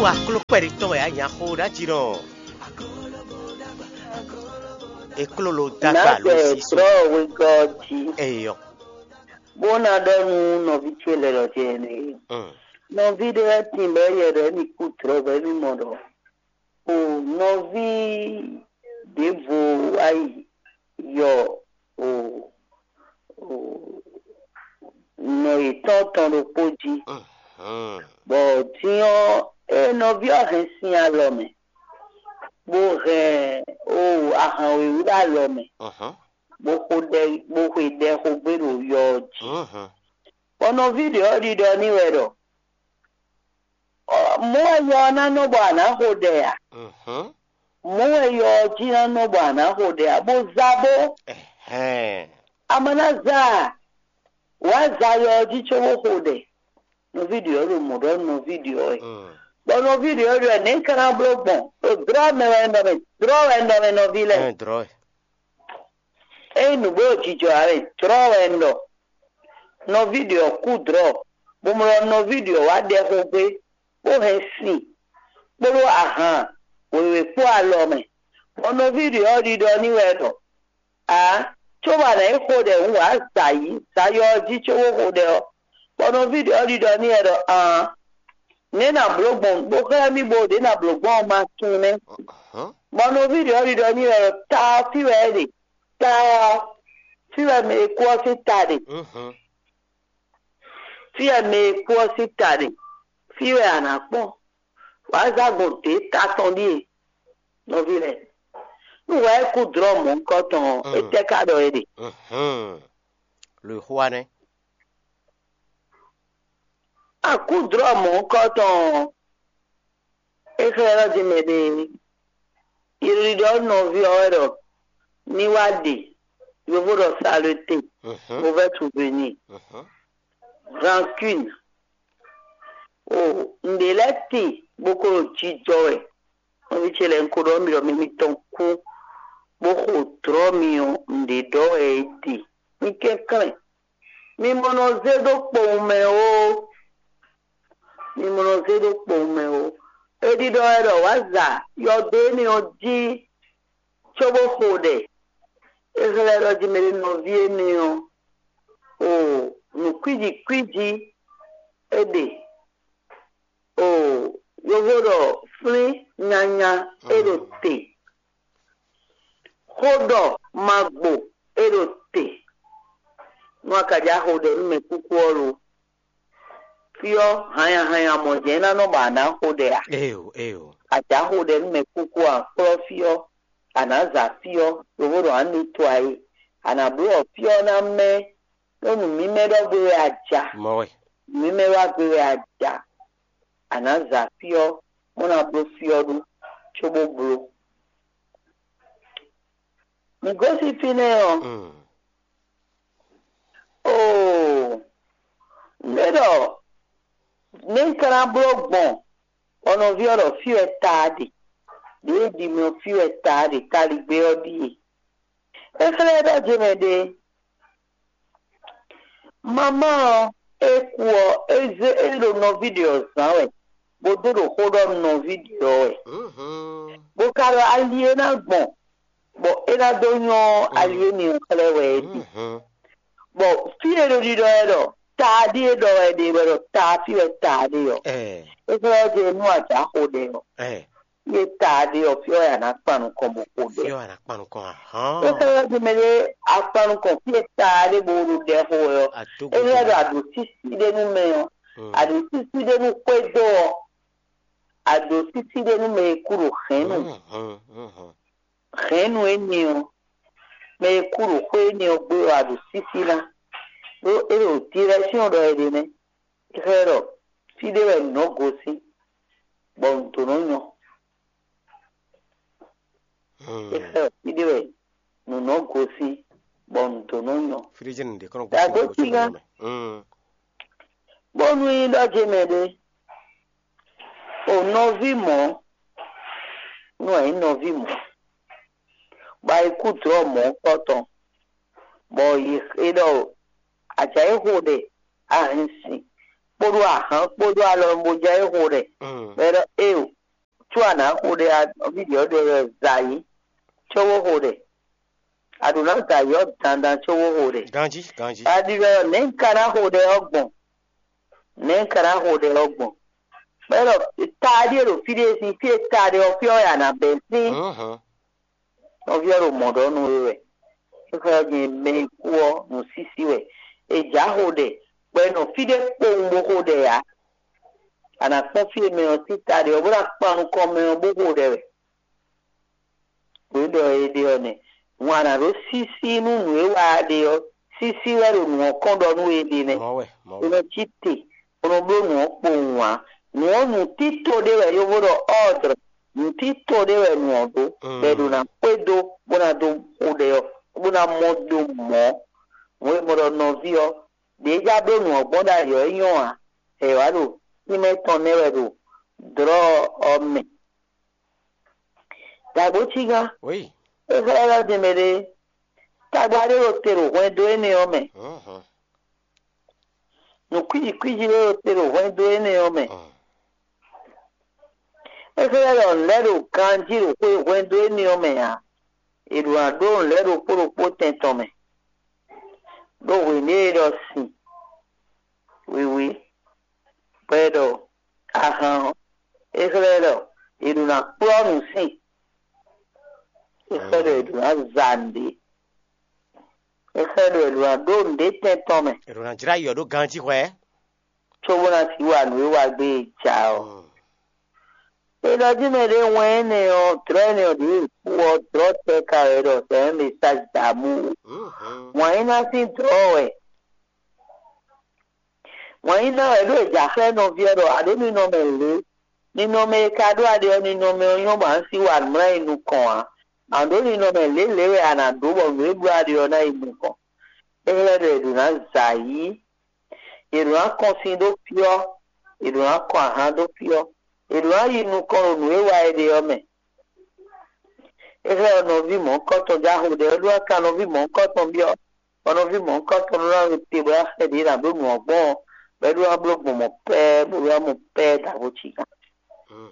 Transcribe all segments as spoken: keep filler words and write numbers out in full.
Wá kló kpɛɖé tɔn wɛ á nya xó ɖ'ájí nɔ. È kló ló dó agba ló Nǎgbɛ sí so. Drɔ́ wegɔ́ jí, Eyɔ. Bó ná ɖɔ nú nɔví ce lɛ́ɛ ɖɔ jɛ nɛ́. Mm. Nɔví ɖé wɛ tín bɔ é yɛ ɖɔ émí kú drɔ́ bɔ émí mɔ ɖɔ o nɔví ɖěvo wá yi yɔ o o nɔ yětɔn tɔn ɖokpó jí. Mhm. Bɔ din ɔ́, é nɔví ɔ́ hɛn sin alɔ mɛ, bó hɛn o ahan wěwé ɖo alɔ mɛ, Mhm. bó xo ɖɛ bó xwe ɖɛ xo gbé ɖo yɔ ɔ́ jí. Mhm. Bɔ nɔví ɖě ɔ́ ɖiɖɔ n'i wɛ ɖɔ: "Ɔ, mɔ̌ wɛ yɔ ɔ́ ná nɔ bɔ a nǎ xo ɖɛ a? Mhm. Mɔ̌ wɛ yɔ ɔ́ jí ná nɔ bɔ a nǎ xo ɖɛ a? Bó za bó, Ɛhɛn. a ma ná za a? Wǎ za yɔ ɔ́ jí cóbó xo ɖɛ." Nɔví ɖě ɔ́ ɖo mɔ̌ ɖɔ nɔví ɖě ɔ́ wɛ. Mm. Bɔ nɔví ɖě ɔ́ ɖɔ: "Nɛ̌ un ka ná bló gbɔn? Ɖo dlɔ́ mɛ wɛ un ɖɔ mɛ, dlɔ́ wɛ un ɖɔ mɛ nɔví lɛ́ɛ." Ɛn, drɔ́. Ényí nǔgbó ɖo jijɔ ǎ wɛ, dlɔ́ wɛ un ɖɔ. Nɔví ɖě ɔ́ kú dlɔ́, bó mlɔ nɔví ɖě ɔ́ wá ɖɛ xó gbé, bó hɛn sin kpódó ahan wěwé kpó alɔ mɛ. Bɔ nɔví ɖě ɔ́ ɖiɖɔ n'i wɛ ɖɔ: "Ǎ, cóbɔ a nǎ yi xo ɖɛ hǔn wǎ zǎ yi, zǎyɔ ɔ́ jí cóbó xo ɖɛ ɔ́." Bɔ nɔví ɖě ɔ́ ɖiɖɔ n'i wɛ ɖɔ: "Aan, nɛ̌ nǎ bló gbɔn bó xlɛ́ mì bó ɖě nǎ bló gbɔn ɔ́ ma tunwun nɛ́." Hɔn. Bɔ nɔví ɖě ɔ́ ɖiɖɔ n'i wɛ ɖɔ: "Ta ɔ́, fí wɛ é ɖe. Ta ɔ́, fí wɛ mɛ e kú ɔ́ sín ta ɖe. Mhm. Fí wɛ mɛ e kú ɔ́ sín ta ɖe. Fí wɛ a nǎ kpɔ́n. Wǎ zá gbɔn dě ta tɔn ɖíe, nɔví lɛ́ɛ. Nú wǎ e kú dlɔ́ mɔ̌hunkɔtɔn ɔ́, Mm. étɛ́ ka ɖɔ é ɖe?" Mhm. Lo e xó wa nɛ́. Akúdlɔ́ mɔ̌hunkɔtɔn ɔ́, é xlɛ́ ɖɔ din mɛ ɖé. Ylíɖɔ nɔví ɔ́ wɛ ɖɔ ní wá ɖe, yovo ɖɔ saleté, Mhm. mauvais souvenir, Mhm. rancune. O nǔɖé lɛ́ɛ tíin bó ko ɖo jijɔ wɛ. Nɔví ce lɛ́ɛ, un ko ɖɔ mì ɖɔ mɛ mitɔn kú, bó xo dlɔ́ mi ɔ́, nǔɖé ɖɔ wɛ é ɖe. Mi kɛnklɛ́n, mi mɔ nɔ zé ɖó kpowun mɛ ó. Mi mɔ nɔ zé ɖó kpowun mɛ ó. É ɖiɖɔ wɛ ɖɔ wǎ za yɔdo énɛ́ ɔ́ jí cóbó xo ɖɛ. É xlɛ́ ɖɔ jí mɛ ɖé nɔví énɛ́ ɔ́, o nǔ kwíji kwíji é ɖe. O yovo ɖɔ flín nyanya é ɖo te. Xó ɖɔ magbo é ɖo te. Nú a ka já xo ɖɛ nú mɛ kúkú ɔ́ lo, fí ɔ́ hanya hanya mɔ jɛ́n ná nɔ bɔ a nǎ xo ɖɛ a? Éyo, éyo. A já xo ɖɛ nú mɛ kúkú a kplɔ́ fí ɔ́, a nǎ za fí ɔ́, lobo ɖɔ a nǐ to ayé. A nǎ bló ɔ fí ɔ́ ná mɛ ɖó nǔ mímɛ́ ɖɔ gbé wɛ a ja. Mɔ̌ wɛ. Nǔ mímɛ́ wá gbé wɛ a ja. A nǎ za fí ɔ́, bó ná bló fí ɔ́ ɖó, cóbó bló. Mǐ gosín fínɛ́ ɔ́, Mm. Oo, nɛ̌ ɖɔ nɛ̌ un ka ná bló gbɔn bɔ nɔví ɔ́ ɖɔ fí wɛ taa ɖe? Ɖěe ɖi mɛ ɔ́ fí wɛ taa ɖe, kaligbé ɔ́ ɖíe. É xlɛ́ ɖɔ jɛ́n mɛ ɖe. Mamá ɔ́, é kú ɔ́, é zé é ɖo nɔví ɖě ɔ́ zán wɛ, bó dó ɖo xó ɖɔ nɔví ɖě ɔ́ wɛ. Mhm. Bó ka ɖɔ ali e ná gbɔn, bɔ é ná dó nyɔ́ ali e mi xlɛ́ wɛ é ɖi. Mhm. Bɔ fí e ɖo ɖiɖɔ wɛ ɖɔ taa ɖíe ɖɔ wɛ ɖe wɛ ɖɔ taa fí wɛ taa ɖe ɔ́, Ɛɛ. É xlɛ́ ɔ́ ɖe nú ajǎxo ɖɛ ɔ́. Ɛɛ. Fí e taa ɖe ɔ́, fí ɔ́ wɛ a nǎ kpan nukɔn bó xo ɖɛ. Fí ɔ́ a nǎ kpan nukɔn ahán. É xlɛ́ ɔ́ ɖe mɛ ɖé a kpan nukɔn fí e taa ɖe bó ɖo ɖɛ xo wɛ ɔ́. Adogo É xlɛ́ ɖɔ. Aɖǒsísí ɖé nú mɛ ɔ́, Mm. Aɖǒsísí ɖé nú xwédo ɔ́, aɖǒsísí ɖé nú mɛ e kú ɖo hɛ̌nnu. Mhm, mhm. Hɛ̌nnu énɛ́ ɔ́, mɛ e kú ɖo xwé énɛ́ ɔ́ gbé wɛ aɖǒsísí ná. Ɖó é ɖo direction ɖɔ è ɖe nɛ́. É xlɛ́ ɖɔ fí ɖé wɛ nǔ nɔ́ gosín, bɔ nǔ dó nɔ́ nyɔ. Hmm. É xlɛ́ ɖɔ fí ɖé wɛ nǔ nɔ́ gosín, bɔ nǔ dó nɔ́ nyɔ. Fí ɖé jɛ́n nǔɖé kɔn nɔ Dǎgbó gosín bɔ tígán. Nǔ nɔ mɛ. Hmm. Bónú nyí ɖɔ ce mɛ ɖé, o nɔví mɔ̌, nú a nyǐ nɔví mɔ̌, bɔ a yi kú dlɔ̌ mɔ̌ kpɔ́ tɔn, bɔ è ɖɔ ajǎ e xo ɖɛ, a hɛn sin kpódó ahǎn kpódó alɔ bó jɛ é xo ɖɛ. Mm. Bɔ é ɖɔ éo, có a nǎ xo ɖɛ ɔ́, nɔví ɖě ɔ́ ɖɔ wɛ zǎyí cóbó xo ɖɛ. A ɖǒ ná zǎyí ɔ́ dandan cóbó xo ɖɛ. Ganjí, ganjí. A ɖi wɛ ɔ́, nɛ̌ un ka ná xo ɖɛ ɔ́ gbɔn? Nɛ̌ un ka ná xo ɖɛ ɔ́ gbɔn? Bɔ é ɖɔ taɖíe ɖo fí ɖé sín fí e taɖé ɔ́ fí ɔ́ wɛ a nǎ bɛ́ sín. Mhm. Nɔví ɔ́ ɖo mɔ̌ ɖɔ nú we wɛ. É xlɛ́ ɔ́ din mɛ e kú ɔ́ nǔsísí wɛ. È jǎ xo ɖɛ, bɔ è nɔ fí ɖé kpowun bó xo ɖɛ ǎ. A nǎ kpɔ́n fí e mɛ ɔ́ sín ta ɖe ɔ́, bó ná kpan nukɔn mɛ ɔ́ bó xo ɖɛ wɛ. Nǔ e ɖɔ è ɖe ɔ́ nɛ́. Hǔn a nǎ ɖó sísí nú nǔ e wa a ɖe ɔ́, sísí wɛ ɖo nǔ ɔ́ kɔn ɖɔ nú we ɖe nɛ́. Mɔ̌ wɛ, mɔ̌ È wɛ. nɔ cí te, bó nɔ bló nǔ ɔ́ kpowun ǎ. Nǔ ɔ́, nǔtító ɖé wɛ yóvó ɖɔ ordre, nǔtító ɖé wɛ nǔ ɔ́ ɖó, bɔ è ɖo ná xwedó bó ná dó xo ɖɛ ɔ́, bó ná mɔ dó mɔ̌. Nǔ e mɔ ɖɔ nɔví ɔ́, ɖě e já bló nǔ ɔ́ gbɔn ɖ'ayǐ ɔ́, é nyɔ́ ǎ. È wǎ ɖo tínmɛ tɔn nɛ́ wɛ ɖo dlɔ̌ ɔ́ mɛ. Dǎgbó cígán, Oui. é xlɛ́ ɖɔ din mɛ ɖé, tagba ɖé ɖo te ɖo hwɛndo énɛ́ ɔ́ mɛ. Mhm. Nǔ kwíji kwíji ɖé ɖo te ɖo hwɛndo énɛ́ ɔ́ mɛ. Mhm. É xlɛ́ ɖɔ nǔ lɛ́ ɖo ganjí ɖo xwe hwɛndo énɛ́ ɔ́ mɛ ǎ. È ɖǒ ná ɖó nǔ lɛ́ ɖokpó ɖokpó tɛn tɔn mɛ. Ɖó hwěɖée ɖɔ sin wiwi, bɔ è ɖɔ ahan ɔ́, é xlɛ́ ɖɔ è ɖǒ ná kplɔ́ nǔ sin. É xlɛ́ ɖɔ è ɖǒ ná za nǔɖé. É xlɛ́ ɖɔ è ɖǒ ná ɖó nǔɖé tɛn tɔn mɛ, È ɖǒ ná jlá yɔ ɖó ganjí hwɛ. cóbó ná sixú wa nǔ e wa gbé e ja ɔ́. Mm. È ɖɔ jí mɛ ɖé wɛn énɛ́ ɔ́, dlɔ̌ énɛ́ ɔ́ ɖě è kú ɔ́, dlɔ̌ tɛ́ ka wɛ ɖɔ c'est un message d'amour. Mhm. Wǎn yíná sín dlɔ̌ wɛ. Wǎn yíná wɛ ɖó è jǎ xlɛ́ nɔví ɔ́ ɖɔ a ɖǒ ninɔmɛ lě. Ninɔmɛ e ka ɖó a ɖe ɔ́, ninɔmɛ ɔ́ nyɔ́ bɔ a nǎ sí wa nǔ mlá yi nukɔn ǎ. A ɖǒ ninɔmɛ lě lě wɛ a nǎ ɖó bɔ nǔ e bló a ɖe ɔ́ ná yi nukɔn. É xlɛ́ ɖɔ è ɖǒ ná zǎ yí. È ɖǒ ná kɔn sin ɖó fí ɔ́, è ɖǒ ná kɔn ahan ɖó fí ɔ́, è ɖǒ ná yi nukɔn ɖo nǔ e wa è ɖe ɔ́ mɛ. É xlɛ́ ɔ́ nɔví mɔ̌hunkɔtɔn já xo ɖɛ ɔ́ ɖó ná kan nɔví mɔ̌hunkɔtɔn byɔ́, bɔ nɔví mɔ̌hunkɔtɔn ɖó ná ɖo te bɔ é ná xlɛ́ ɖě ná bló nǔ ɔ́ gbɔn ɔ́, bɔ é ɖó ná bló gbɔn mɔ̌ pɛ́ɛ́ bó ɖó ná mɔ pɛ́ɛ́ ɖo awo cí gán. Mm.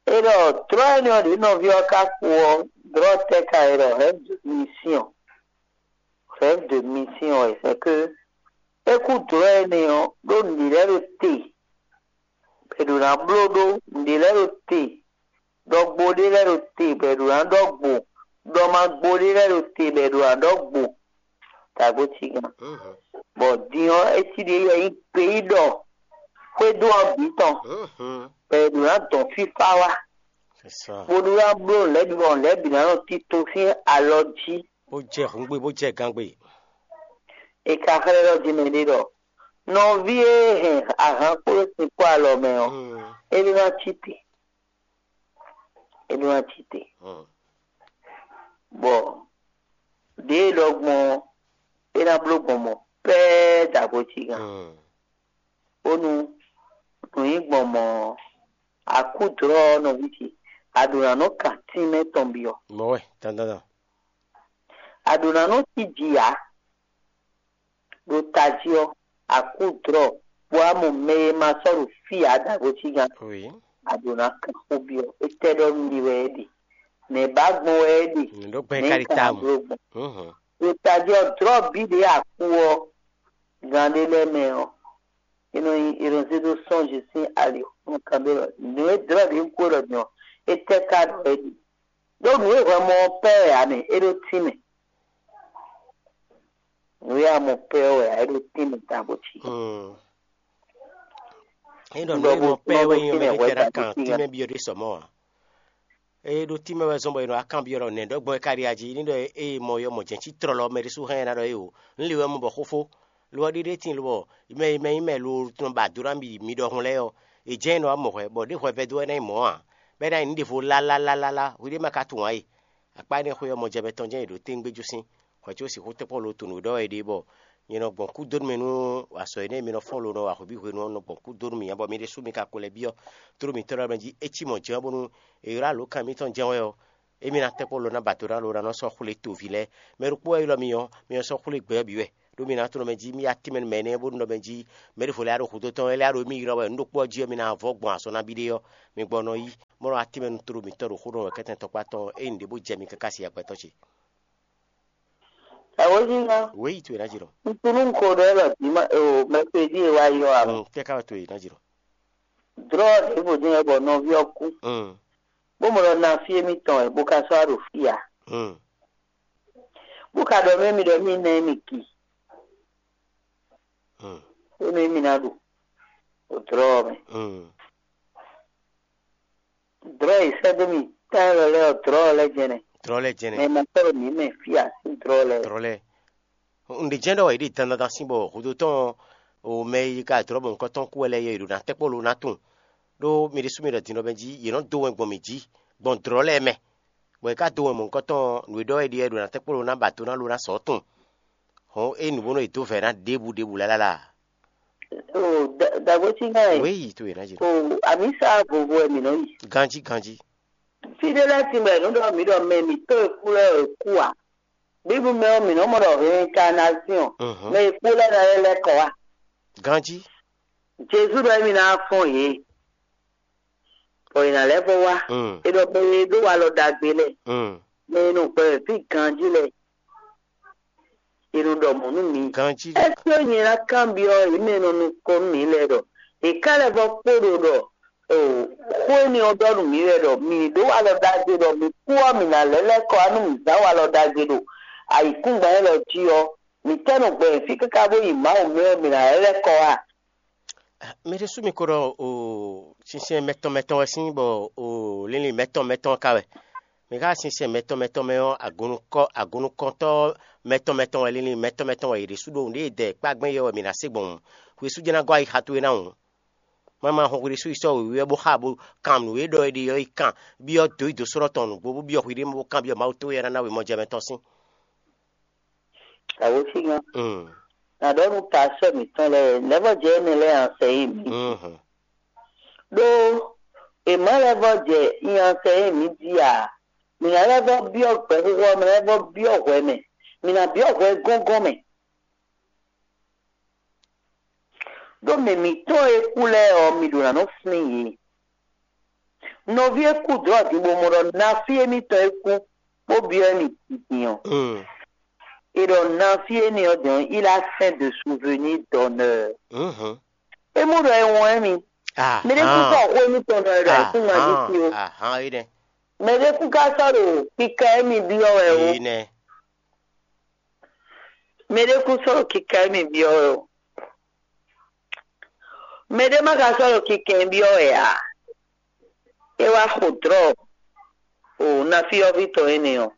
É ɖɔ dlɔ̌ énɛ́ ɔ́ ɖě nɔví ɔ́ ka kpo ɔ́, dlɔ̌ tɛ́ ka è ɖɔ rêve de mission. Rêve de mission wɛ, c'est que é kú dlɔ̌ énɛ́ ɔ́ ɖó nǔɖé lɛ́ɛ ɖo te, bɔ è ɖǒ ná bló ɖó nǔɖé lɛ́ɛ ɖo te, ɖɔgbo ɖé lɛ́ɛ ɖo te, bɔ è ɖǒ ná ɖɔgbo, ɖɔmagbo ɖé lɛ́ɛ ɖo te, bɔ è ɖǒ ná ɖɔgbo. Dǎgbó cí gán. Mhm. Bɔ din ɔ́, é cí ɖě yɛ nyí gbeyíɖɔ xwédo ɔ́ bǐ tɔn, Mhm. bɔ è ɖǒ ná dɔn fífá wá, C'est ça. bó ɖó ná bló nǔ lɛ́ɛ bǐ bɔ nǔ lɛ́ɛ bǐ ná nɔ tito sín alɔ jí. Bó jɛ hǔngbe, bó jɛ gangbe. È ka xlɛ́ ɖɔ din mɛ ɖé ɖɔ nɔví e hɛn ahan kpó sin kpó alɔ mɛ ɔ́, Mm. é ɖó ná cí te. É ɖó ná cí te. Mm. Bɔ ɖěe ɖɔ gbɔn ɔ́, é ná bló gbɔn mɔ̌ pɛ́ɛ́ dǎgbó cí gán. Mm. Bónú nǔ nyí gbɔn mɔ̌ ɔ́, a kú dlɔ̌ ɔ́ nɔví ce, a ɖǒ ná nɔ kan tínmɛ tɔn byɔ́. Mɔ̌ wɛ, dandandan. A ɖǒ ná nɔ cí jǐ ǎ. Ɖo tají ɔ́, a kú dlɔ̌, bɔ a mɔ mɛ e ma sɔ́ ɖo fí ǎ dǎgbó cí gán. Oui. A ɖǒ ná kan xó byɔ́. Étɛ́ ɖɔ nú mi wɛ é ɖe? Nɛ̌ ba gbɔn wɛ é ɖe? Nǔ ɖó gbɛn Nɛ̌ kárí kan támu. bló gbɔn? Mhm. Ɖo tají ɔ́, dlɔ̌ bǐ ɖě a kú ɔ́, gán ɖé lɛ́ɛ mɛ ɔ́, é nɔ nyí é nɔ zé dó sɔ́nji sín ali xɔ́n kan ɖé lɔ. Nǔ e dlɔ̌ ɖě ń kú ɖɔ din ɔ́, étɛ́ ka ɖɔ é ɖe? Ɖó nǔ e hwɛ mɔ ɔ́ pɛ́ wɛ ǎ mɛ, é ɖó tínmɛ. Nǔ e a mɔ pɛ́ ɔ́ wɛ ǎ, é ɖó tínmɛ tabo cí. Mm. É ɖɔ nǔ e nɔ pɛ́ wɛ nyí ɔmɛ ɖé tɛ ɖo akan tínmɛ byɔ́ ɖé sɔ mɔ̌ ǎ. Eye ɖo tínmɛ wɛ zɔ́n bɔ è nɔ wá kanbyɔ́ ɖɔ nɛ̌ ɖɔ gbɔn é ka ɖi ají ní ɖɔ eye mɔ yɔ mɔ jɛ̌n cí tlɔlɔ mɛ ɖésú hɛn ná ɖɔ é o. Un li wɛ mɔ bɔ xófó lo ɔ́ ɖiɖe tíin lobɔ mɛ e mɛ nyí mɛ lo tɔn ba dó ná mi mi ɖɔhun lɛ́ɛ ɔ́, è jɛ́n é nɔ wá mɔ hwɛ bɔ ɖé hwɛ vɛ́ dó wɛ ná nyí mɔ̌ ǎ, bɔ é ná nyí nǔ ɖěvo lálálálála hwiɖée ma ka tunwun ǎ e. Akpá énɛ́ xwé ɔ́ mɔjɛmɛ tɔn jɛ́n è ɖǒ téŋgbé jó sín, hwɛ có sixú tɛ́nkpɔ́n lo tunwun ɖɔ wɛ ɖe bɔ nyɛ nɔ gbɔn kú dó nú mì nú azɔ̌ énɛ́ e mi nɔ fɔ́n lo nɔ wa hwebǐ hwenu ɔ́ nɔ gbɔn kú dó nú mì nya bɔ mi ɖésú mi ka ko lɛ́ byɔ́ tló mǐtɔn lɛ́ɛ mɛ jí é cí mɔ̌ jɛ́n ɔ́ bónú è ylɔ́ alǒkan mǐtɔn jɛ́n wɛ ɔ́, émí ná tɛ́nkpɔ́n lo ná ba do ná lo ná nɔ sɔ́ xwlé toví lɛ́ɛ. Mɛ ɖokpó wɛ ylɔ́ mi ɔ́, mi nɔ sɔ́ xwlé gbɛ ɔ́ bǐ wɛ. ɖó mi ná tunɔ mɛ jí, mì yi atín mɛ nú mɛ énɛ́ bónú ɖɔ mɛ jí mɛ ɖěvo lɛ́ɛ ɖo hudó tɔn wɛ lɛ́ɛ ɖo mì ylɔ́ wɛ nǔ ɖokpó ɔ́ jí ɔ́, mi ná vɔ́ gbɔn azɔn nabí ɖé ɔ́, mi gbɔ nɔ yí. Mɔ̌ ɖɔ atín mɛ nú tló mǐtɔn ɖo xó ɖɔ wɛ kɛ́tɛn tɔkpá tɔn ɔ́, ényí nǔɖé bó jɛ mi káká se agbɛtɔ́ ce. Awǒzínga, Wěyi towe ná jɛ ɖɔ. Un tunú un ko ɖɔ élɔ́ dǐma o mɛsedi e wá yi ɔ́ ǎ. Mm, kɛ́ ká wɛ towe ná jɛ ɖɔ. Drɔ́ ɖěvo din wɛ bɔ nɔví ɔ́ kú, Mm, bó mɔ ɖɔ ná fí émítɔn wɛ, bó ka sɔ́ wá ɖo fí ǎ. Mm. Bó ka ɖɔ nú émí ɖɔ émí ná émí ki. Mm. Énɛ́ émí ná ɖu ɖo drɔ́ ɔ́ mɛ. Mm. Drɔ́ e sɛ́ dó mì tán élɔ́ lɛ́ɛ ɔ́, drɔ́ ɔ́ lɛ́ jɛnɛ. Drɔ́ lɛ́ jɛnɛ. Mɛ e ma sɔ́ ɖo mǐ mɛ fí ǎ sín drɔ́ lɛ́ɛ. Drɔ́ lɛ́ɛ. Un ɖe jɛ́n ɖɔ è ɖe dandan sín bɔ hudó tɔn o mɛ e ka drɔ̌ mɔ nukɔn tɔn kú wɛ lɛ́ɛ yɛ è ɖo ná tɛ́ kpó lo ná tunwun. Ɖó mi ɖésú mi ɖɔ din ɖɔ mɛ jí yě nɔ dó wɛn gbɔn mǐ jí gbɔn dlɔ̌ lɛ́ɛ mɛ, bɔ è ka dó wɛn mɔ̌hunkɔtɔn nǔ e ɖɔ wɛ ɖe wɛ ɖo ná tɛ́ kpó lo ná ba do ná lo ná sɔ̌ tunwun. Hɔn é nǔ bónú è dó vɛ̌ ná ɖěbǔ ɖěbǔ lálálá. O dagbosinga e Wěyi to è ná jɛ. O amisa vovo wɛ mǐ nɔ yi. Ganjí ganjí. Fí ɖé lɛ́ɛ sin bɔ è nǔ ɖɔ mǐ ɖɔ mɛ mǐtɔn e kú lɛ́ɛ e kú ǎ. Bíblu mɛ ɔ́, mǐ nɔ́ mɔ ɖɔ reincarnation, Mhm. mɛ e kú lɛ́ɛ ná lɛ́ lɛ́ kɔ wá. Ganjí. Jezu ɖɔ émí ná fɔ́n yě, bɔ è nǎ lɛ́ vɔ wá. Mm. È ɖɔ mɛ e ɖó walɔ ɖagbe lɛ́ɛ, Mm. mɛ e nɔ gbɛ wɛ fí ganjí lɛ́ɛ, è nɔ ɖɔ mɔ̌ nú mi. Ganjí. Ɛsɛ́ nyɛ ná kanbyɔ́ yě mɛ e nɔ nukɔn nú mǐ lɛ́ɛ ɖɔ è ká lɛ́ vɔ kpo ɖo ɖɔ o xó énɛ́ ɔ́ ɖɔ nú mǐ wɛ ɖɔ mǐ ɖó walɔ ɖagbe ɖɔ mǐ kú ɔ́, mǐ ná lɛ́ lɛ́ kɔ wá nú mǐ zán walɔ ɖagbe ɖo ayǐkúngban élɔ́ jí ɔ́, mǐ tɛ́ nɔ gbɛ fí káká bó yi Mawu mɛ ɔ́, mǐ ná lɛ́ lɛ́ kɔ wá. Mi ɖésú mi ko ɖɔ o sinsɛn mɛtɔn mɛtɔn wɛ sín bɔ o linlin mɛtɔn mɛtɔn ka wɛ. Mi ka sinsɛn mɛtɔn mɛtɔn mɛ ɔ́, agunnukɔ agunnukɔntɔ́ mɛtɔn mɛtɔn wɛ, linlin mɛtɔn mɛtɔn wɛ yě ɖésú ɖo nǔɖé e dɛ kpá gbɛn yɛ wɛ mǐ ná se gbɔn hǔn. Hwesú jɛ́n ná gɔ́ ayixa towe ná hǔn. Má ma hɔn hwi ɖésú yi sɔ́ wěwé ɔ́ bó xa bó kan nǔ e ɖɔ è ɖe ɔ́ yi kan, byɔ́ dǒ yi dǒ sɔ́ ɖɔ tɔn nǔgbó, bó byɔ́ hwi ɖé mɛ bó kanbyɔ́ Mawu towe e ná ná we mɔjɛmɛ tɔn sín. Awosígan, Mm. nà ɖɔ nú pasɔ mǐtɔn lɛ́ɛ, lɛ́vɔ́ jɛ énɛ́ lɛ́ɛ ansɛ yi mǐ. Mhm. Ɖó è má lɛ́vɔ́ jɛ nyi ansɛ yi mǐ jí ǎ, mǐ ná lɛ́vɔ́ byɔ́ gbɛxixo ɔ́ mɛ, lɛ́vɔ́ byɔ́ hwɛ mɛ, mǐ ná byɔ́ hwɛ gɔ́ngɔ́n mɛ. Ɖó mɛ mǐtɔn e kú lɛ́ɛ ɔ́, mi ɖo ná nɔ flín yě. Nɔví e kú dlɔ̌ din bó mɔ ɖɔ nafí émítɔn e kú bó byɔ́ émí din ɔ́, Mm. è ɖɔ nafí énɛ́ ɔ́ din ɔ́, il a fin de souvenir d'honneur. Mhm. É mɔ ɖɔ é wɔn émí. Ah, Mɛ ɖé kú ah. sɔ́ xó émítɔn ɖɔ é ɖɔ é kú ŋa jí sí o. Ahán, é nɛ. Mɛ ɖé kú ká sɔ́ ɖo kíká émí byɔ́ wɛ o. É nɛ. Mɛ ɖé kú sɔ́ ɖo kíká émí byɔ́ wɛ o. Mɛ ɖé má ka sɔ́ ɖo kíká émí byɔ́ wɛ ǎ. É wá xo dlɔ̌ o nafí ɔ́ ví tɔn énɛ́ ɔ́.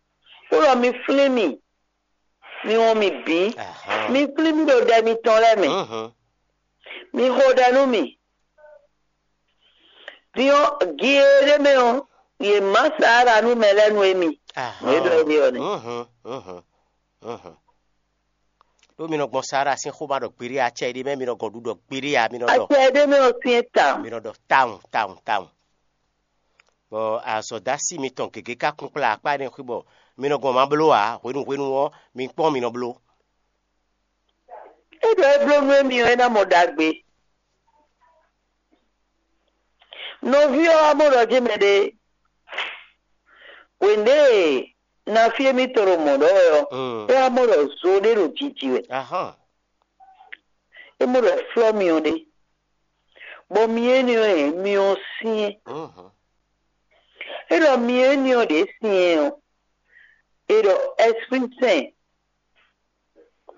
Ó ɖɔ mi flín mì, mi wɔn mì bǐ, Ahán. mi flín mì ɖo ɖɛ mitɔn lɛ́ɛ mɛ, Mhm. mi xo ɖɛ nú mì. Din ɔ́, gi e ɖ'é mɛ ɔ́, yě má sa ɖa nú mɛ lɛ́ɛ nú émí. Ahán. Nǔ e ɖɔ é ɖe ɔ́ nɛ́. Mhm, mhm, mhm. Ɖó mi nɔ gbɔn Sara sín xó ma ɖɔ gbeɖé ǎ, acɛ e ɖ'é mɛ mi nɔ gɔn ɖu ɖɔ gbeɖé ǎ, mi nɔ ɖɔ Acɛ e ɖ'é mɛ ɔ́ syɛ́n tawun. Mi nɔ ɖɔ tawun tawun tawun. Bɔ azɔ̌dasi mitɔn gěgé ka kún kplá akpá énɛ́ xwé bɔ mi nɔ gbɔn ma bló ǎ, hwenu hwenu ɔ́, mi kpɔ́n mi nɔ bló. É ɖɔ é bló nú émí ɔ́, é ná mɔ ɖagbe. Nɔví ɔ́ wá mɔ ɖɔ jɛ́n mɛ ɖé. Hwěndé e nafí émítɔn ɖo mɔ̌ ɖɔ wɛ ɔ́, Mm. é wá mɔ ɖɔ zo ɖé ɖo jiji wɛ. Ahán. É mɔ ɖɔ flɔ́ myɔ ɖé. Bɔ myɔ énɛ́ ɔ́, myɔ syɛ́n. Mhm. É ɖɔ myɔ énɛ́ ɔ́ ɖě syɛ́n ɔ́, é ɖɔ Ɛ́spírí Sɛn.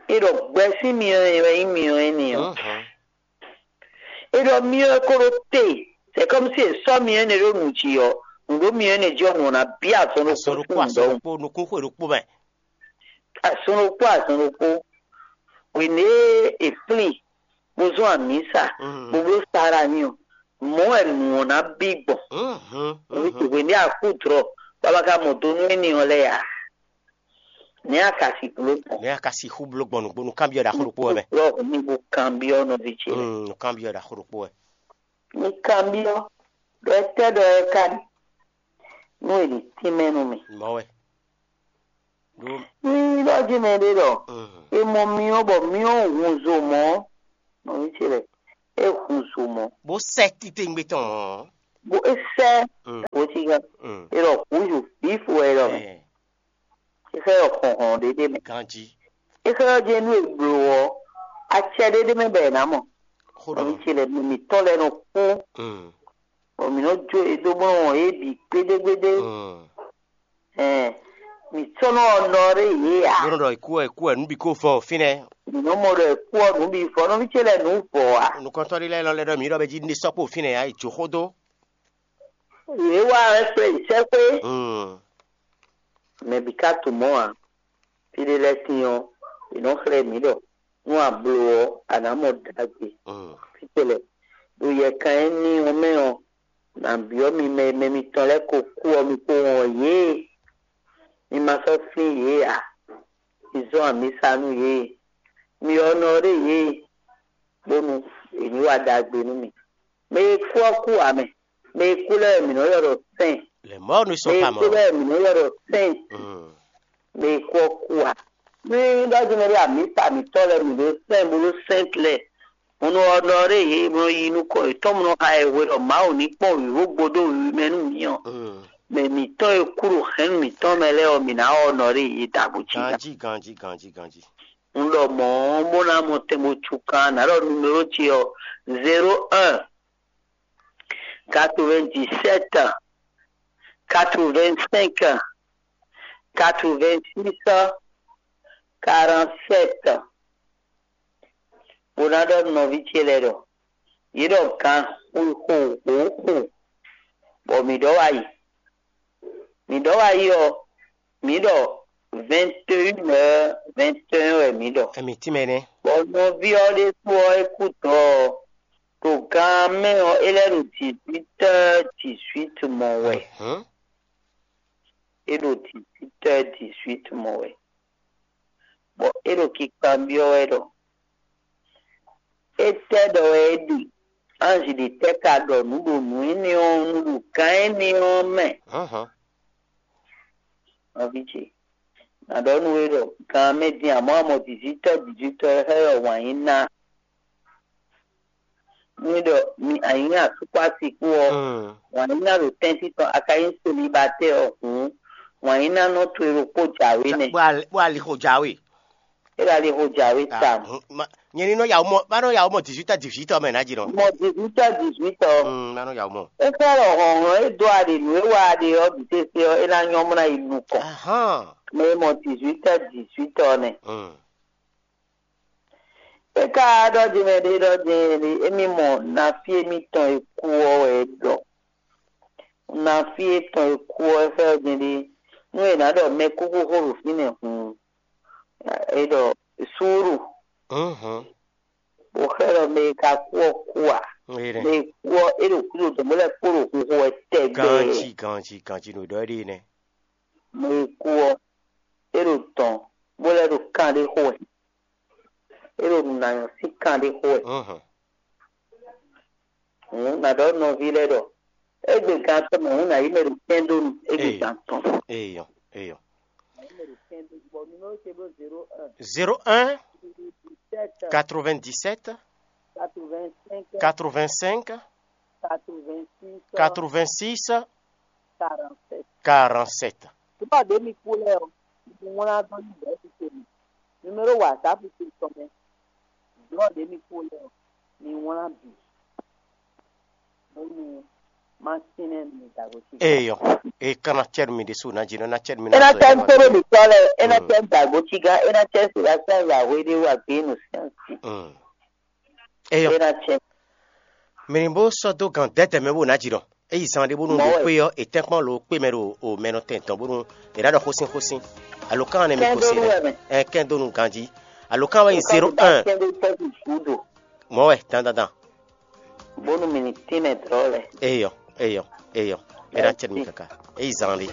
É ɖɔ gbɛ sín myɔ ɛ wɛ nyí myɔ énɛ́ ɔ́. Mhm. É ɖɔ myɔ ɛ ko ɖo te, c'est comme si è sɔ́ myɔ énɛ́ ɖó nǔ jí ɔ́, nǔ ɖo myɔ énɛ́ jí ɔ́, nǔ ɔ́ ná bí azɔn ɖokpó Azɔn ɖokpó, sín azɔn nǔ ɖɔhun. Ɖokpó, nukún xwe ɖokpó mɛ. Azɔn ɖokpó, azɔn ɖokpó. Hwenu e è flín, bó zɔ́n amǐsa, Mhm. bó bló Sara n'i ɔ́, mɔ̌ wɛ nǔ ɔ́ ná bí gbɔn. Mhm, Hwenu mhm. hwenu e a kú dlɔ̌, bɔ a ma ka mɔ do nú énɛ́ ɔ́ lɛ́ɛ ǎ. Nɛ̌ a ka sixú bló gbɔn? Nɛ̌ a ka sixú bló gbɔn nǔgbó nú kanbyɔ́ ɖaxó ɖokpó wɛ mɛ? Blɔ́ mi bo kanbyɔ́ nɔví ce lɛ́ɛ. Mm, nú kanbyɔ́ ɖaxó ɖokpó wɛ. Mi kanbyɔ́ ɖɔ étɛ́ ɖɔ é ka ɖe nú è ɖi tínmɛ nú mì. Mɔ̌ wɛ. Ní ɖɔ jí mɛ ɖé ɖɔ, e mɔ myɔ bɔ myɔ hun zo mɔ̌, nɔví ce lɛ, é hun zo mɔ̌, bó sɛ́ titewungbe tɔn mɔ̌. Bó é sɛ́ wǒ cí gán. Mm. É ɖɔ hǔn zo vǐfo wɛ é ɖɔ mɛ. Ɛ, É xlɛ́ ɖɔ xɔnxɔn ɖé ɖé mɛ. Ganjí. É xlɛ́ ɖɔ jɛ́n nú è blǒ ɔ́, acɛ ɖé ɖé mɛ bɔ è nǎ mɔ. Xó ɖɔ. Nɔví ce lɛ, mǐ mǐtɔn lɛ́ɛ nɔ kú. Mm. Bɔ mǐ nɔ jó e dó bó nɔ wɔn yě bǐ gbédégbédé. Mm. Ɛn, mǐ sɔ́ nɔ ɔ́ nɔ ɖé yě ǎ. Bó nɔ ɖɔ è kú wɛ, è kú wɛ, nǔ bǐ ko vɔ fínɛ́. Mǐ nɔ mɔ ɖɔ è kú ɔ́, nǔ bǐ vɔ. Nɔví ce lɛ́ɛ nǔ vɔ ǎ. Nukɔntɔ́ ɖé lɛ́ɛ lɔ lɛ́ ɖɔ mǐ ɖɔ bɛ jí ní sɔ́ kpó fínɛ́ ǎ, è jó xó dó. Yě wá wɛ kplé sɛ́xwé. Mm. Mɛ bǐ ka tunwun mɔ̌ ǎ. Fí ɖé lɛ́ɛ tín ɔ́, è nɔ́ xlɛ́ mǐ ɖɔ nú a bló ɔ́, a nǎ mɔ ɖagbe. Mm. Fítɛ́ lɛ́ɛ ɖo yɛkan énɛ́ ɔ́ mɛ ɔ́, nǎ byɔ́ mi mɛ e mɛ mitɔn lɛ́ɛ ko kú ɔ́, mi kó wɔn yě. Mi ma sɔ́ flín yě ǎ. Mi zɔ́n amǐsa nú yě. Mi ɔ́ nɔ ɖé yě, bónú è ní wa ɖagbe nú mi. Mɛ e kú ɔ́ kú ǎ mɛ. Mɛ e kú lɛ́ɛ mǐ nɔ́ ylɔ́ ɖɔ sɛ́n. Les morts ne sont pas morts. Mɛ e kú lɛ́ɛ mǐ nɔ́ ylɔ́ ɖɔ sɛ́n. Mm. Mɛ e kú ɔ́ kú ǎ. Ní ɖɔjí mɛ ɖé amǐsa mǐtɔn lɛ́ɛ mǐ ɖó sɛ́n bó ɖó sɛ́nt lɛ́ɛ. Mo nɔ ɔ́ nɔ ɖé yě, mo nɔ yi nukɔn yětɔn, mo nɔ xa yɛ hwe ɖɔ Mawu ní kpɔ́n wǐwó gbódó wiwi mɛ nú mǐ ɔ́. Mm. Mɛ mǐtɔn e kú ɖo hɛ̌nnu mǐtɔn mɛ lɛ́ɛ ɔ́, mǐ ná ɔ́ nɔ ɖé yě dǎgbó cí. Ganjí, ganjí, ganjí, ganjí. Un ɖɔ mɔ̌ ɔ́, bó ná mɔ tɛn bó cukan, nǎ ɖɔ numéro ce ɔ́, zéro un, quatre-vingt-dix-sept, quatre-vingt-cinq, quatre-vingt-six, quarante-sept. Bó ná ɖɔ nɔví ce lɛ́ɛ ɖɔ, yě ɖɔ gan xixo hǒxo, bɔ mǐ ɖɔ wá yi. Mǐ ɖɔ wá yi ɔ́, mǐ ɖɔ vingt et une heures vingt et un wɛ mǐ ɖɔ. Ɛmí tínmɛ nɛ́. Bɔ nɔví ɔ́ ɖésú ɔ́, é kú dɔ̌ ɔ́, ɖo gan mɛ ɔ́, é lɛ́ ɖo dix-huit heures dix-huit mɔ wɛ. Hǔn. É ɖo dix-huit heures dix-huit mɔ wɛ. Bɔ é ɖo kikan byɔ́ wɛ ɖɔ, étɛ́ ɖɔ wɛ é ɖe? Anzi ɖě tɛ́ ka ɖɔ nǔ ɖo nǔ énɛ́ ɔ́ nu ɖo gǎn énɛ́ ɔ́ mɛ? Hɔ̌nhɔ́n. Nɔví ce, nǎ ɖɔ nú we ɖɔ gan mɛ din amɔ̌ amɔ dǐzítɔ́ dǐzítɔ́ xá ɖɔ wǎn yí ná. Ní ɖɔ mi anyǐnyá asúkpási kú ɔ́, wǎn yí ná ɖo tɛ́ntin tɔn a ka nyí selibatɛ́ ɔ́ hǔn, wǎn yí ná nɔ to e ɖokpó jǎwe nɛ́. Bó ali xo jǎwe. É ɖo ali xo jǎwe tawun. Nyɛ ní nɔ yawu mɔ, má nɔ yawu mɔ dix-huit à dix-huit ɔ́ mɛ ná jí nɔ. Mɔ dix-huit à dix-huit ɔ́. Mm, má nɔ yawu mɔ. É xlɛ́ ɖɔ hlɔ̌nhlɔ́n e dó aɖě nǔ e wa aɖě ɔ́ bǐ sésé ɔ́, é ná nyɔ́ mɔ ná yi nukɔn. Ahán. Mɛ e mɔ dix-huit à dix-huit ɔ́ nɛ́. Mm. É ka ɖɔ din mɛ ɖé ɖɔ din émí mɔ nafí émítɔn e kú ɔ́ wɛ é ɖɔ. Nafí étɔn e kú ɔ́ é xlɛ́ din ɖé. Nú è nǎ ɖɔ mɛkúkú xó ɖo fínɛ́ hǔn, é ɖɔ súúru. Mhm. Bó xlɛ́ ɖɔ mɛ e ka kú ɔ́ kú ǎ. Mɛ e kú ɔ́, é ɖo kúdo dɔ̌n bó lɛ́ kpo ɖo xixo wɛ tɛgbɛ. Ganjí, ganjí, ganjí, nǔ ɖɔ é ɖe nɛ́. Mɛ e kú ɔ́, é ɖo dɔ̌n bó lɛ́ ɖo kan ɖé xo wɛ. É ɖo nǔ ná nyɔ́ sín kan ɖé xo wɛ. Mhm. Hǔn nǎ ɖɔ nɔví lɛ́ɛ ɖɔ, égbe gan tɔn mɛ hǔn nǎ yí mɛ ɖo kɛ́ndónu égbe gan tɔn. Eyɔ, eyɔ. Zéro un, quatre-vingt-dix-sept, quatre-vingt-cinq, quatre-vingt-six, quarante-sept. Tó bá dé mi kú lɛ ɔ, mi wlán dó ní bɛ́ ti tèmi. Numéro WhatsApp ti tɔn mɛ. Dó dé mi kú lɛ ɔ, mi wlán bǐ. Bónú má tínɛ́ mi dǎgbó cí. Eyɔ, e kana cɛ́ mi ɖésú ná jí nɔ ná cɛ́ mi. É ná cɛ́ mi kpóɖó mi tɔ́ lɛ, é ná cɛ́ mi dǎgbó cí gán, é ná cɛ́ mi si asán yahwé ɖé wá gbé nǔ sɛ́n sí. Eyɔ. É ná cɛ́ mi. Mǐ ní bó sɔ́ dó gǎn dɛ̌dɛ̌ mɛ bó ná jǐ ɖɔ é yi zan ɖé bónú ɖo xwé ɔ́, è tɛ́nkpɔ́n lo kpé mɛ ɖo o mɛ nɔ tɛn tɔn bónú è ɖǎ ɖɔ xósín xósín. Alo kán nɛ mi ko se lɛ ɛ kɛn dó nu ganjí. Alo kán wɛ nyi zéro un. Mɔ̌ wɛ dandandan. Bónú mi ní tínmɛ dlɔ́ lɛ. Eyɔ, eyɔ, eyɔ. É ná cɛ mi kaka. É yi zan ɖé.